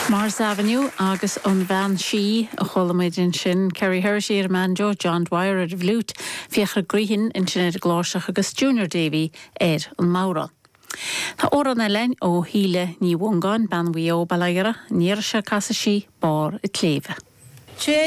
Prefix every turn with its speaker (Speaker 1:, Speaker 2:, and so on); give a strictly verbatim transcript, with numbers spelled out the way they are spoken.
Speaker 1: Mars Avenue agus an bhean sí a chuala muid ansin Kerry Herity ar banjo, John Dwyer ar an bhfliúit, Fiachra Grehan ansin ar an gcláirseach agus Junior Davy ar an mbodhrán. Tá amhrán eile ó Shíle Ní Mhongáin bean Mhaigh Eo Baile Ghera, níor se casa sí bar i tléibh.
Speaker 2: Té